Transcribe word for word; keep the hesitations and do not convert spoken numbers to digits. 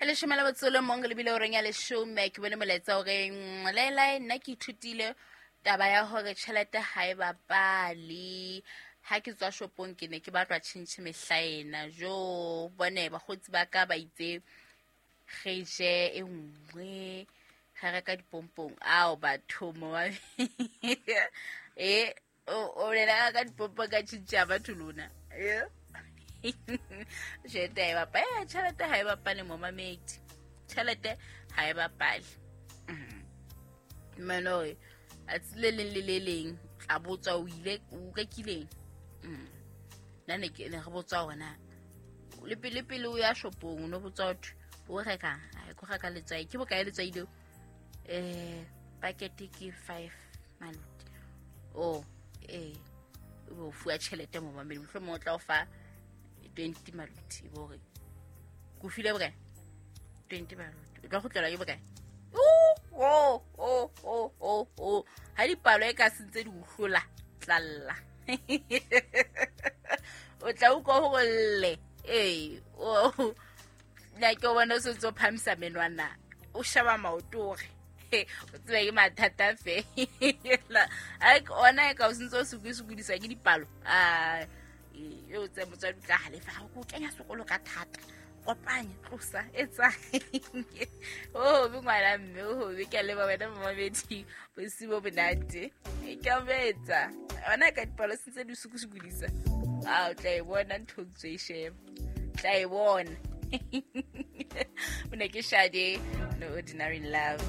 E leshome la botsolo mong le bile o reng ya leshome ke bone molaetsa o reng lelai nna ke ithutile taba ya hore tjhelete ha e bapale. Ha ke tswa shopong ke ne ke batlwa tjhentjhe mehla ena. Jo bone bakgotsi ba ka ba itse re je e nngwe re reka dipompong. Ao batho mo e o o bolela ka dipompong ka tjhentjhe ya batho lona. Eh. Tjhelete ha e bapale. Eh, tjhelete ha e bapale momamedi. Tjhelete ha e bapale. Mmane hore tsatsi le leng le le leng tla botswa o ile o rekileng. Mm. Nna ne ke ne re botswa hore na le pele pele o ya shopong o no botswa hothwe o rekang. Ai ko reka letswai. Ke bokae letswai leo? Eh packet ke five maluti. Oh eh o fuwa tjhelete momamedi mohlomong o tla o fa twenty maluti e bo hore ko file bokae? twenty maluti. O tla kgutlela ke bokae? Oh, oh, oh, oh, oh. Ha dipalo e ka sentse di o hlola, tlalla. O tla utlwa hore lle. Ee, oh. Nna ke o bona o sentse o phamisa menwana. O sheba maoto hore o tsebe ke mathata fela. Ai ona e ka o sentse o sokodiswa ke dipalo. Ah, e o tse motswadi o tla halefa ha o kenya sekolo ka thata. Kopanya tlosa etsa. Oh be ngwana mme o be ke le ba wena momamedi bosiu bo monate. E ke a betsa. Ona ka dipalo sentse di sokosokodisa. Ah o tla e bona ntho tse e sheba. Tla e bona. O ne ke Shade, No Ordinary Love.